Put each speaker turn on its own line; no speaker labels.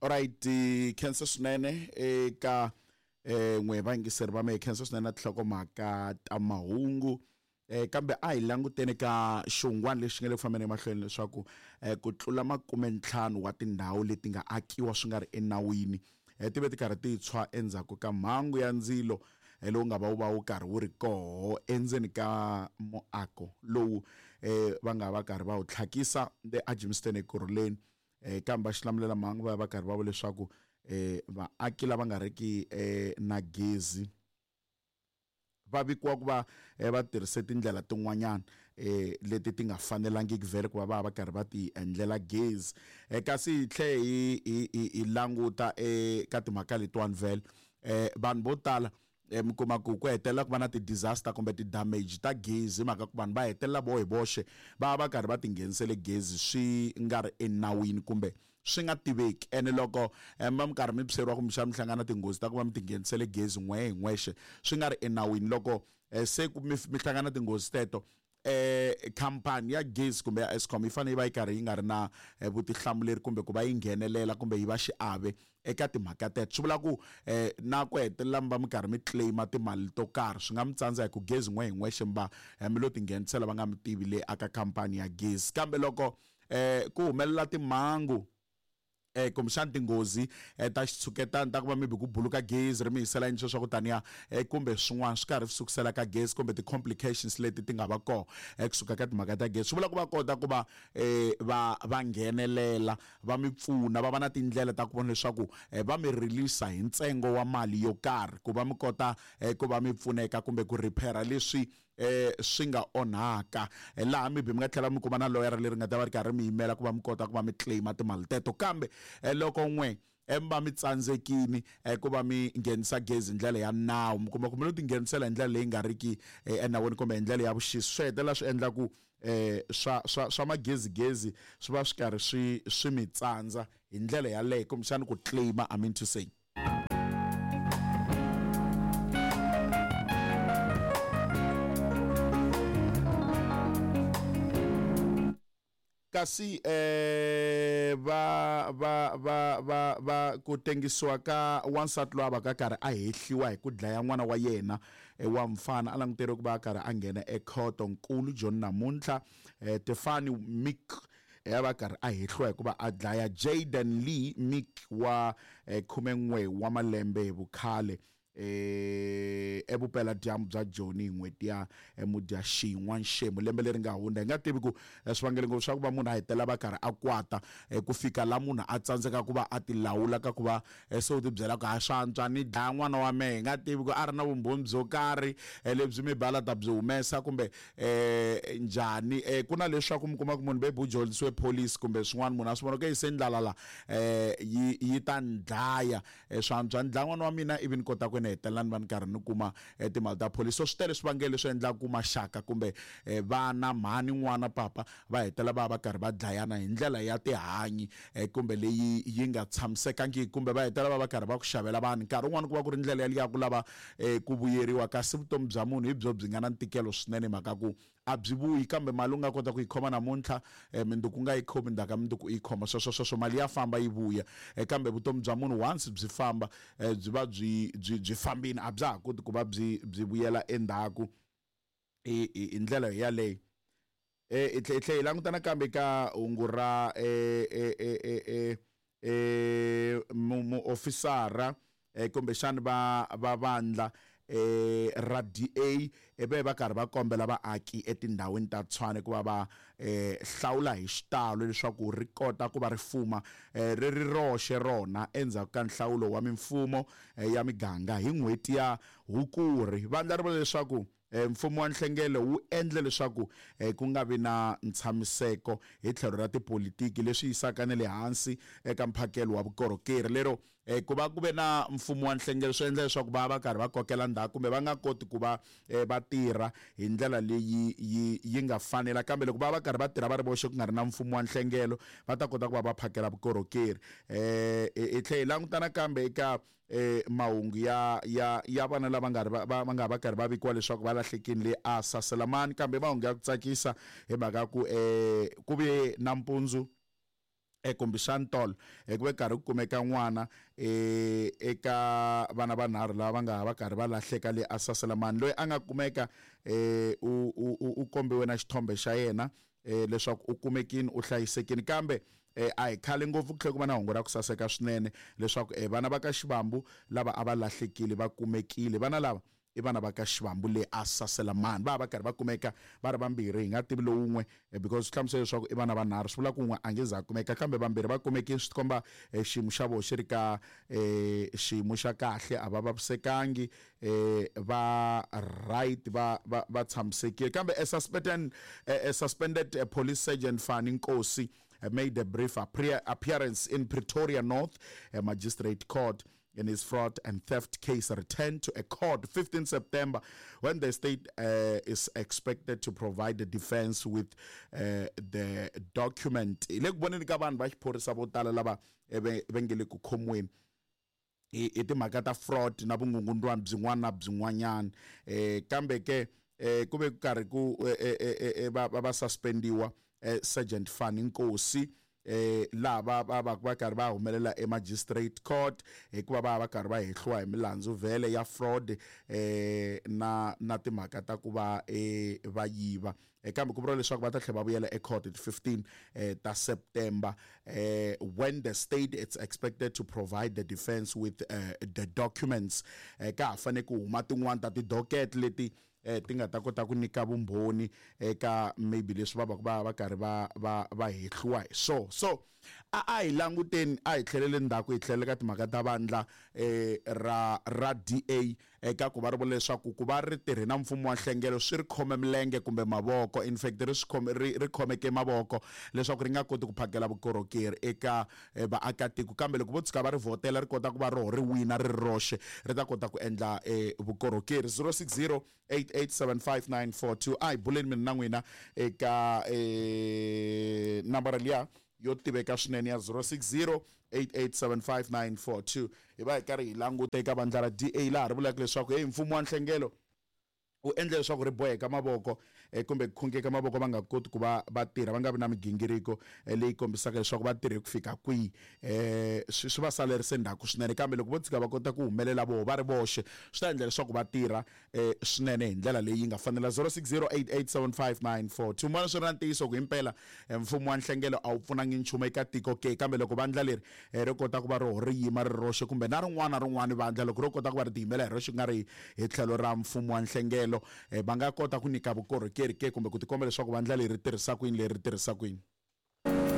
Alright, khensa swinene eka n'we vayingiseri va mehe, khensa swinene na tinhlokomhaka ta mahungu. Kambe a hi languteni ka xihungwana lexi nga le ku fambeni emahlweni leswaku ku tlula 50 wa tindhawu leti nga akiwa swi nga ri enawini ti ve ti karhi ti tshwa endzhaku ka mhangu ya ndzilo lowu nga va wu va wu karhi wu ri koho endzeni ka muako lowu va nga va karhi va wu tlhakisa le aGermiston eKurhuleni. Kambe va xilamulelamhangu va ya va karhi va vula leswaku vaaki lava nga riki na gezi va vikiwa ku va va tirhise tindlela tin'wanyana leti ti nga fanelangiki vhele ku va va va karhi va ti endlela gezi. Kasi hi tlhe hi languta eka timhaka letiwani vhele, vanhu vo tala mi kuma ku ku hetelela ku va na ti-disaster kumbe ti-damage ta gezi hi mhaka ku vanhu va hetelela vo hi voxe va va karhi va ti nghenisele gezi swi nga ri enawini kumbe swi nga tiveki. Ene loko mi va mi karhi mi byeriwa kumbexana mi hlangana tinghozi ta ku va mi ti nghenisele gezi n'we hi n'wexe swi nga ri enawini, loko se ku mi hlangana tinghozi teto, khampani ya gezi kumbe ya Eskom yi fanele yi va yi karhi yi nga ri na vutihlamuleri kumbe ku va yi nghenelela kumbe yi va xiave eka timhaka teto. Swi vula ku na ku hetelela mi va mi karhi mi claim-a timali to karhi swi nga mi tsandza hi ku gezi n'we hi n'wexe mi va mi lo ti nghenisela va nga mi tivi le aka khampani ya gezi. Kambe loko ku humelela timhangu kumbexana tinghozi ta xitshuketano ta ku va maybe ku buluka gezi ri mi hisela yini sweswo ku taniya, kumbe swin'wana swi karhi swi sukusela ka gezi kumbe ti-complications leti ti nga va kona kusuka ka timhaka ta gezi, swi vula ku va kota ku va va va nghenelela va mi pfuna, va va na tindlela ta ku vona leswaku va mi release hi ntsengo wa mali yo karhi ku va mi kota ku va mi pfuneka kumbe ku repair leswi swi nga onhaka. Laha maybe mi nga tlhela mi kuma na loyara leri nga ta va ri karhi mi yimela ku va mi kota ku va mi claim timali teto. Kambe loko n'we mi va mi tsandzekini ku va mi nghenisa gezi hi ndlela ya nawu, mi kuma ku mi lo ti nghenisela hi ndlela leyi nga riki enawini kumbe hi ndlela ya vuxisi, swi hetelela swi endla ku swa swa swa magezigezi swi va swi karhi swi swi mi tsandza hi ndlela yaleyo, kumbexana ku claim, I mean to say. Kasi va va va va va ku tengisiwa ka wansati loyi a va ka karhi a hehliwa hi ku dlaya n'wana wa yena wa mfana, a languteriwe ku va a karhi a nghena ekhoto nkulu John namuntlha. Tefani Mick ya va karhi a hehliwa hi ku va a dlaya Jayden Lee Mick wa 11 wa malembe hi vukhale evupeladyambu bya Joni hi n'hweti ya Mudyaxihi n'wanxemu lembe leri nga hundza. Hi nga tivi ku swivangelo ngopfu swa ku va munhu a hetelela va karhi a kwata ku fika la munhu a tsandzeka ku va a ti lawula ka ku va se u ti byela ku ha swa antswa ni dlaya n'wana wa mehe, hi nga tivi ku a ri na vumbhoni byo karhi lebyi mi bala ta byi humesa kumbe njhani. Ku na leswaku mi kuma ku munhu maybe u dyondzisiwe police kumbe swin'wana, munhu a swi vona ku se ndlala la yi yi ta ni dlaya, swa antswa ni dlaya n'wana wa mina ivi ni kota ku ni hetelela ni va ni karhi ni kuma timali ta police. So swi tele swivangelo leswi endlaka ku maxaka kumbe vana, mhani, n'wana, papa va hetelela va va karhi va dlayana hi ndlela ya tihanyi kumbe leyi yi nga tshamisekangiki, kumbe va hetelela va va karhi va ku xavela vanhu. Nkarhi wun'wani ku va ku ri ndlela yaliya ku lava ku vuyeriwa, kasi vutomi bya munhu hi byo byi nga na ntikelo swinene hi mhaka ku a byi vuyi, kambe mali u nga kota ku yi khoma namuntlha, mundzuku u nga yi khomi, ndzhaku ka mundzuku u yi khoma, sweswo sweswo mali ya famba yi vuya. Kambe vutomi bya munhu once byi famba, byi va byi byi byi fambile, a bya ha koti ku va byi byi vuyela endzhaku hi hi ndlela yaleyo. Hi tlhe hi tlhe hi languta nakambe ka hungu ra muofisara kumbexani va va vandla ra DA ve va karhi va kombela vaaki etindhawini ta Tshwane ku va va hlawula hi xitalo leswaku ri kota ku va ri fuma ri ri roxe rona endzhaku ka nhlawulo wa mimfumo ya miganga hi n'hweti ya Hukuri. Vandla ri vula leswaku Mfumo wa nhlengelo wu endle leswaku ku nga vi na ntshamiseko hi tlhelo ra tipolitiki, leswi yisaka na le hansi eka mphakelo wa vukorhokeri. Lero ku va ku ve na mfumo wa nhlengelo swi endla leswaku va va karhi va kokela ndzhaku kumbe va nga koti ku va va tirha hi ndlela leyi yi yi nga fanela. Kambe loko va va karhi va tirha va ri voxe ku nga ri na mfumo wa nhlengelo, va ta kota ku va va phakela vukorhokeri. Hi tlhela hi languta nakambe eka mahungu ya ya ya vana lava nga ri va va nga va karhi va vikiwa leswaku va lahlekile le a Saselamani, kambe mahungu ya ku tsakisa hi mhaka ku ku ve nampundzu Kumbexani tolo ku ve karhi ku kumeka n'wana eka vana vanharhu lava va nga ha va karhi va lahleka le asaselamani loyi a nga kumeka u kombiwe na xithombe xa yena leswaku u kumekini u hlayisekini kambe a hi khale ngopfu ku tlhela ku va na hungu ra ku saseka swinene leswaku vana va ka xivambu lava a va lahlekile va kumekile. Vana lava i vana va ka xivambu le a saselamani va va karhi va kumeka va ri vambirhi, hi nga tivi lowun'we because swi hlamusela leswaku i vana vanharhu, swi vula ku un'we a nge za a kumeka kambe vambirhi va kumekile. Swi tikomba xiyimo xa vona xi ri ka xiyimo xa kahle, a va vavisekangi, va right, va tshamisekile. Kambe a suspended police sergeant Fani Nkosi made a brief appearance in Pretoria North Magistrate Court in his fraud and theft case, returned to a court 15 September when the state is expected to provide the defense with the document. Le ku voneni ka vanhu va xiphorisa vo tala lava va nge le ku khomiweni hi timhaka ta fraud na vungungundwani byin'wana na byin'wanyana, kambe ke ku ve ku karhi ku va suspendiwa Sergeant Fani Nkosi, laha va karhi va humelela e-magistrate court hikuva va va karhi va hehliwa hi milandzu vhele ya fraud na timhaka ta ku va va yiva, kambe ku vuriwa leswaku va ta tlhela va vuyela ecourt hi 15 ta September when the state it's expected to provide the defense with the documents. Ka ha fanele ku huma tin'wani ta ti-docket leti ti nga ta kota ku nyika vumbhoni eka maybe leswi va va va karhi va hehliwa hi so. So a hi languteni, a hi tlheleli ndzhaku, hi tlhelela ka timhaka ta vandla ra DA eka ku va ri vula leswaku ku va ri tirhe na mfumo wa nhlengelo swi ri khome milenge kumbe mavoko, in fact ri swi khome ri khomeke mavoko leswaku ri nga koti ku phakela vukorhokeri eka vaakatiko, kambe loko vo tshuka va ri vhotela ri kota ku va roho ri wina ri roxe ri ta kota ku endla vukorhokeri. 060 8875942, a hi buleni mina na n'wina eka nambara liya yo tiveka swinene ya 060 8875942. Hi va hi karhi hi languta eka vandla ra DA laha ri vulaka leswaku hey, mfumo wa nhlengelo wu endle leswaku ri boheka mavoko kumbe ku khungeka mavoko, va nga koti ku va va tirha, va nga vi na migingiriko leyi kombisaka leswaku va tirhe ku fika kwihi, swi va salerise ndzhaku swinene. Kambe loko vo tshika va kota ku humelela voho va ri voxe, swi ta endla leswaku va tirha swinene hi ndlela leyi nga fanela. 0608875942, mona swi ri na ntiyiso ku himpela mfumo wa nhlengelo a wu pfunangi nchumu eka tiko ke, kambe loko vandla leri ri kota ku va roho ri yima ri roxe kumbe na rin'wana na rin'wana vandla loko ro kota ku va ri tiyimela hi roxe ku nga ri hi tlhelo ra mfumo wa nhlengelo, va nga kota ku nyika vukorhokeri ke kumbe ku tikomba leswaku vandla leri ri tirhisa ku yini, leri ri tirhisa ku yini.